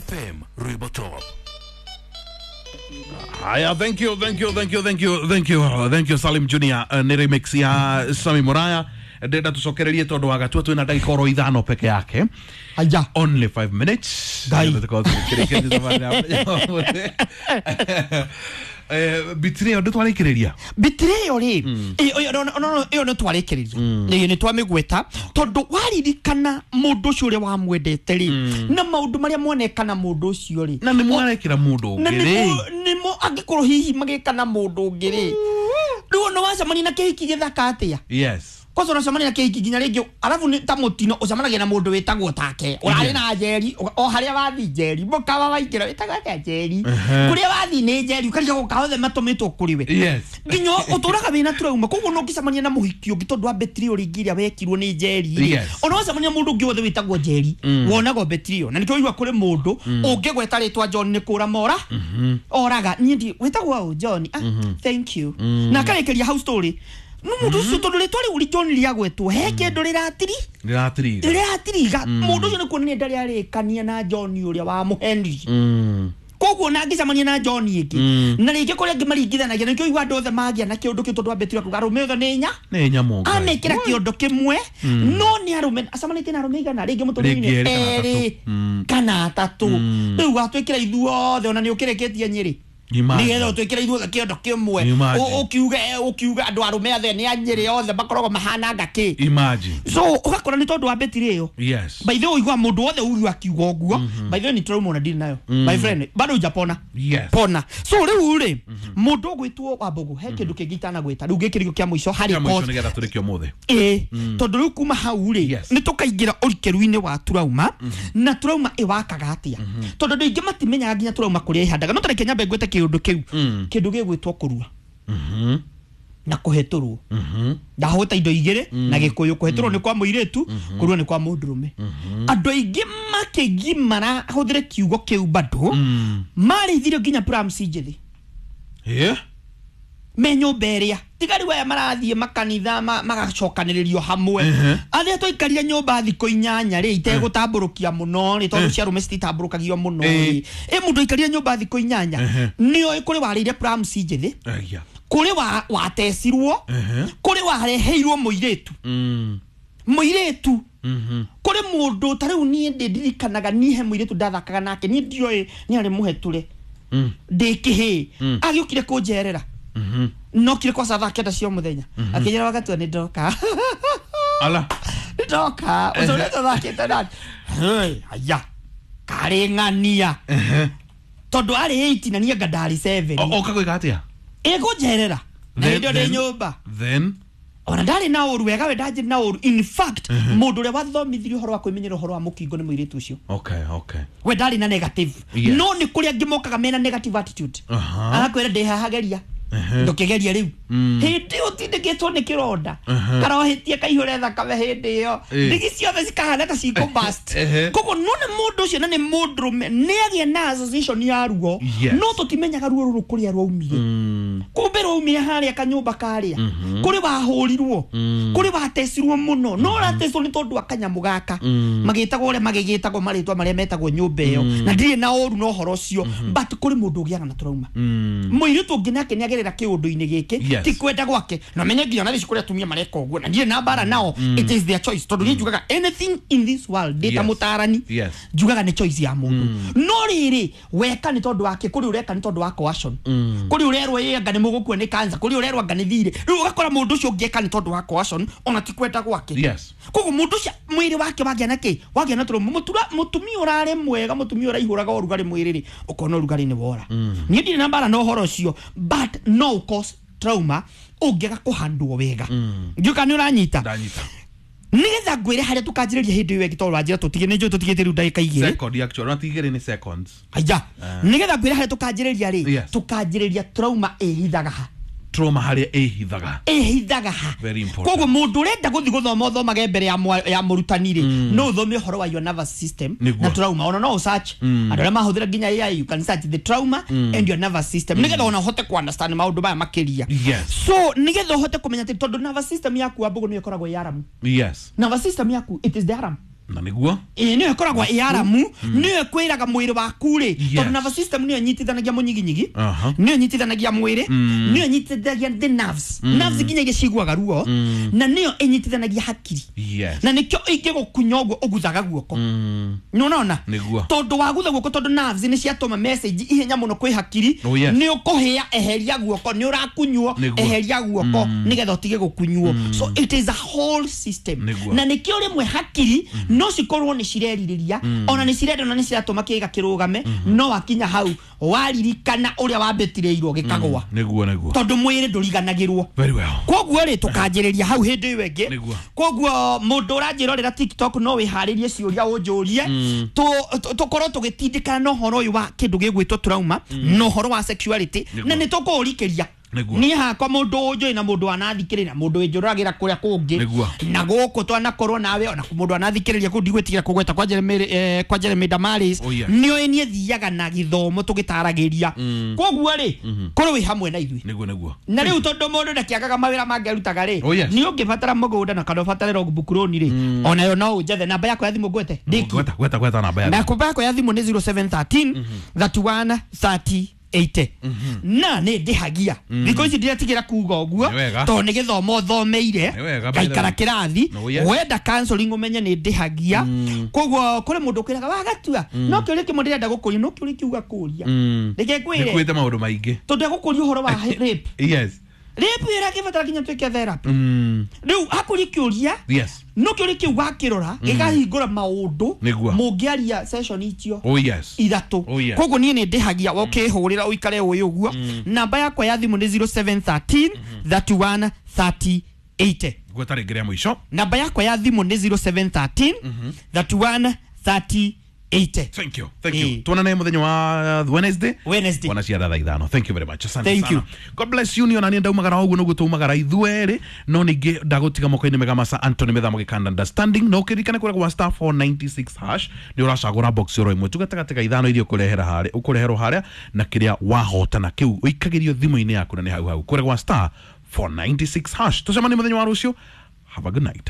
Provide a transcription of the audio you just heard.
FM Rwimbo Top. Haya, thank you, thank you, thank you, thank you, thank you, thank you Salim Junior. Nĩ remix ya Sami Muraya. Ndĩrenda tũcokererie tondũ wa gatua twĩna ndagĩka oro 5 peke yake. Aya. Only 5 minutes. Ngai. Nĩgetha tũkorwo tũgĩkĩrĩkia thabarĩ ya mũthenya wa ũmũthĩ. Betrayal ndũ twarĩkĩrĩria. Betrayal rĩ, ĩyo nĩ twarĩkĩrĩria, ĩĩ nĩ twamĩgweta tondũ waririkana mũndũ ũcio ũrĩa wamwendete rĩ, na maũndũ marĩa monekana mũndũ ũcio rĩ, Na nĩ mwarekĩra mũndũ na ũngĩ rĩ. nĩmo angĩkorwo hihi magĩka na mũndũ ũngĩ rĩ, rĩu ona wacemania na kĩhiki gĩthaka atĩa? Yes. Kwanza unacemania na kĩhiki nginya rĩngĩ, arabu nĩ ta mũtino ũcemanagia na mũndũ wĩtagwo take ũrarĩ na njeri o harĩa wathi njeri mũkawa waingĩra wĩtagwo atĩa njeri, kũrĩa wathi nĩ njeri, ũkarigagwo ka othe matũmĩtwo kũrĩ we. Nginya ũtũraga wĩna trauma, koguo no ũngĩcemania na mũhiki ũngĩ tondũ wa betrayal rĩngĩ ĩrĩa wekirwo nĩ njeri rĩ, ona wacemania na mũndũ ũngĩ wothe wĩtagwo njeri wonaga betrayal. Na nĩkĩo ũigua kũrĩ mũndũ ũngĩgweta rĩtwa John nĩ kũra mora oraga niĩ ndi wĩtagwo ũ John, ah, thank you, na akarĩkĩria hau story no mũndũ ũcio tondũ rĩtwa rĩu John rĩagwetwo he kĩndũ rĩratiri. Rĩratiriga. Rĩratiriga mũndũ ũcio nĩ kuonania ndarĩ arĩkania na John ũrĩa wa mũhenri. Koguo na angĩcemania na John ĩngĩ na rĩngĩ kũrĩa angĩ maringithanagia, nĩkĩo igua andũ othe magĩa na kĩũndũ kĩu tondũ wa betrayal kuga arũme othe nĩ nya Nĩ nyamũ Ngai. amekĩra kĩondo kĩmwe, no nĩ arũme acemanĩtie na arũme igana rĩngĩ mũtũrĩre-inĩ, Rĩngĩ erĩ kana atatũ. Erĩ kana atatũ. Rĩu watwĩkĩra ithuothe ona nĩ ũkĩrĩkĩtie Nyĩrĩ. Imagine. Nĩgetha ũtwĩkĩre ithuothe kĩondo kĩmwe. Imagine. Ũkiuge andũ arũme othe nĩ a Nyĩrĩ, othe makoragwo mahananga kĩ. Imagine. So ũgakora nĩ tondũ wa betiri ĩyo. By the way, ũigua mũndũ wothe uyu akiuga ũguo, by the way, nĩ trauma ona ndirĩ nayo, my friend, bado hujapona. Pona. So rĩu rĩ, mũndũ ũgwĩtwo Wambũgũ, he kĩndũ kĩngĩ itanagwĩta rĩu gĩkĩrĩo kĩa mũico harĩ Kĩa mũico cause. nĩgetha tũrĩkie ũmũthĩ. Ĩĩ, tondũ rĩu kuma hau rĩ, nĩ tũkaingĩra ũrikĩru-inĩ wa trauma na trauma ĩwakaga atĩa, tondũ andũ aingĩ matimenyaga nginya trauma kũrĩa ĩhandaga. No tareke nyambe ngwĩte kĩũndũ kĩu, kĩndũ gĩgwĩtwo kũrua na kũhetũrwo. Ndahũta indo igĩrĩ na gĩkũyũ: kũhetũrwo nĩ kwa mũirĩtu, kũrua nĩ kwa mũndũrũme. Andũ aingĩ makĩgimara, hũthĩre kiugo kĩu, bado marĩithirio nginya prams njĩthĩ me nyũmba ĩrĩa tiga rĩu aya marathiĩ makanitha magacokanĩrĩrio hamwe. Arĩa twaikarire nyũmba thikũ 8 rĩ, itegũtambũrũkia mũno rĩ, tondũ cia arũme cititambũrũkagio mũno rĩ, ĩ mũndũ aikarire nyũmba thikũ 8 nĩoĩ kũrĩ warĩire prams njĩthĩ, Aya. kũrĩ watecirwo, kũrĩ wareheirwo mũirĩtu, mũirĩtu kũrĩ mũndũ ta rĩu niĩ ndĩ ndirikanaga niĩ he mũirĩtu ndathakaga nake, niĩ ndioĩ nĩ arĩ mũhetũre ndĩ kĩhĩ, agĩũkire kũnjerera, nokire kwaca thaa 9 cia mũthenya, akĩnjĩra wagatua nĩ ndoka. Ala. Nĩ ndoka ũcio ũrĩa tũthakĩte nake. Hey, aya karĩ ng'ania tondũ arĩ 8 na niĩ anga ndarĩ 7. Oka gwĩka atĩa? Ĩkũnjerera na hĩndĩ ĩyo ndĩ nyũmba. Then Ona ndarĩ na ũru wega, we ndanjĩ na ũru. In fact, mũndũ ũrĩa wathomithirie ũhoro wa kwĩmenyera ũhoro wa mũkingo nĩ mũirĩtu ũcio. We ndarĩ na negative. No nĩ kũrĩ angĩ mokaga mena negative attitude. Agakwĩra ndĩ haha geria, ndũkĩgeria rĩu hĩndĩ ĩyo ũtindĩkĩtwo nĩ kĩronda karohĩtie kaihũre thakame hĩndĩ ĩyo, ndigi ciothe cikahana ta cikũ-burst. Koguo no nĩ mũndũ ũcio na nĩ mũndũrũme nĩ agĩa na association ya ruo. No tũtimenyaga ruo rũrũ kũrĩa rwaumire. Kumbe rwaumire harĩa kanyũmba karĩa kũrĩ wahũrirwo, kũrĩ watecirwo mũno, no ũratecirwo nĩ tondũ wa kanyamũ gaka magĩtagwo ũrĩa magĩgĩtagwo marĩtwa marĩa metagwo nyũmba ĩyo, na ndirĩ na ũru na ũhoro ũcio, but kũrĩ mũndũ ũgĩaga na trauma. Mũirĩtu ũngĩ nake nĩ agerera kĩũndũ-inĩ gĩkĩ. Ti kwenda gwake, na menye nginya ona thaici kũrĩ atumia mareka ũguo, na ndirĩ na mbara nao, it is their choice, tondũ niĩ njugaga anything in this world ndĩ ta mũtarani, njugaga nĩ choice ya mũndũ. No rĩrĩ, weka nĩ tondũ wake, kũrĩ ũreka nĩ tondũ wa coercion, kũrĩ ũrerwo ĩ anga nĩ mũgũkua nĩ cancer, kũrĩ ũrerwo anga nĩ thirĩ. Rĩu ũgakora mũndũ ũcio ũngĩeka nĩ tondũ wa coercion, ona ti kwenda gwake. Koguo mũndũ ũcio mwĩrĩ wake wagĩa na kĩ, wagĩa na trauma. Mũtura mũtumia ũrarĩ mwega, mũtumia ũraihũraga ũrugarĩ mwĩrĩ rĩ, ũkona ũrugarĩ nĩ wora. Niĩ ndirĩ na mbara na ũhoro ũcio, but no cause trauma ũngĩaga kũhandwo wega. Ndiũĩ kana nĩ ũranyita. Ndanyita. Nĩgetha ngwĩre harĩa tũkanjĩrĩria hĩndĩ ĩyo ĩngĩ, tondũ wanjĩra tũtige, nĩ njũĩ tũtigĩte rĩu ndagĩka 2. Second actually, not igĩrĩ, nĩ seconds. Aya, nĩgetha ngwĩre harĩa tũkanjĩrĩria rĩ, tũkanjĩrĩria trauma ĩhithaga ha. Trauma harĩa ĩhithaga. Ĩhithaga ha. Very important. Koguo mũndũ ũrenda gũthiĩ gũthoma, ũthomage mbere ya mũrutani rĩ, no ũthome ũhoro wa your nervous system na trauma. Ona no ũsearch, andũ arĩa mahũthĩra nginya AI, you can search the trauma and your nervous system, nĩgetha ona ũhote ku understand maũndũ maya makĩria. So nĩgetha ũhote kũmenya atĩ tondũ nervous system yaku, Wambũgũ, nĩyo ĩkoragwo ĩ alarm. Nervous system yaku, it is the alarm. Na nĩguo Ĩĩ, nĩyo ĩkoragwo ĩ aramu, nĩyo ĩkwĩraga mwĩrĩ waku rĩ, tondũ nervous system nĩyo ĩnyitithanagia mũnyiginyigi, nĩyo ĩnyitithanagia mwĩrĩ, nĩyo ĩnyitithanagia the nerves, nerves nginya iria ciguaga ruo, na nĩyo ĩnyitithanagia hakiri. Na nĩkĩo ingĩgũkunya ũguo ũguthaga guoko. Nĩũrona? Tondũ wagutha guoko, tondũ nerves nĩ ciatũma message ihenya mũno kwĩ hakiri, nĩ ũkũhĩa, eheria guoko, nĩ ũrakunywo, eheria guoko nĩgetha ũtige gũkunywo. So it is a whole system. Na nĩkĩo rĩmwe hakiri no cikorwo nĩ cirerirĩria, ona nĩ cirenda, ona nĩ ciratũma kĩga kĩrũgame, no wakinya hau waririkana ũrĩa wambĩtirĩirwo gĩkagwa. Nĩguo Tondũ mwĩrĩ ndũriganagĩrwo. Very well. Koguo rĩ, tũkanjĩrĩria hau hĩndĩ ĩyo ĩngĩ. Koguo mũndũ ũranjĩrorera TikTok no wĩharĩrie ciũria ũnjũrie, tũkorwo tũgĩtindĩkana na ũhoro ũyũ wa kĩndũ gĩgwĩtwo trauma na ũhoro wa sexuality, na nĩ tũkũũrikĩria. Niĩ hakwa mũndũ ũnjũĩ na mũndũ wanathikĩrĩria na mũndũ wĩnjũragĩra kũrĩa kũngĩ na gũkũ twanakorwo nawe, ona mũndũ wanathikĩrĩria kũu ndigwĩtigĩra kũgweta kwa Jeremy, kwa Jeremy Damaris, nĩoĩ niĩ thiaga na gĩthomo tũgĩtaragĩria. Koguo rĩ, korwo wĩ hamwe na ithuĩ. Nĩguo Na rĩu tondũ mũndũ ndakĩagaga mawĩra mangĩ arutaga rĩ, nĩ ũngĩbatara mũgũnda na kana ũbatare logbook loan rĩ, onayo no ũnjethe. Namba yakwa ya thimũ ngwete? Gweta namba ya namba yakwa ya thimũ nĩ 0713 31 30 80. Na nĩ ndĩhagia thikũ ici ndĩretigĩra kuga ũguo tondũ nĩ gĩthomo thomeire, ngaikara kĩrathi, wenda counseling ũmenye nĩ ndĩhagia. Koguo kũrĩ mũndũ ũkwĩraga wagatua, no kĩũria kĩmwe ndĩrenda gũkũria, no kĩũria kĩu gakũria reke ngwĩre nĩkwĩte maũndũ maingĩ, tondũ egũkũria ũhoro wa rape. Rape ĩrakĩbatara nginya twĩke therapy. Rĩu hakũria kĩũria, no kĩũria kĩu wakĩrora gĩkahingũra maũndũ mũngĩaria session icio ithatũ. Koguo niĩ nĩ ndĩhagia, ũkĩhũrĩra ũikare ũĩ ũguo. Namba yakwa ya thimũ nĩ 0713 31 30 80. Gweta rĩngĩ rĩa mũico. Namba yakwa ya thimũ nĩ 0713 31 30 80. Thank you. Thank you. Tuonane muthenya wa Wednesday. Wana cia thaa 5. Thank you very much. Asante Thank you. God bless you. Niona nienda umagara ũguo nĩguo tumagara ithuerĩ, no ningĩ ndagũtiga moko-inĩ mega masa Anthony Methamo gĩkanda understanding, no ũkĩririkane kũrĩa gwa star 496 hash nĩ ũracagũra box oro ĩmwe tu gatagatĩ ga ithano iria ũkũrehera harĩa ũkũreherwo harĩa na kĩrĩa wahotana kĩu ũikagĩrio thimũ-inĩ yaku na nĩ hau hau kũrĩa gwa star 496 hash. Tũcemanie mũthenya wa rũciũ. Have a good night.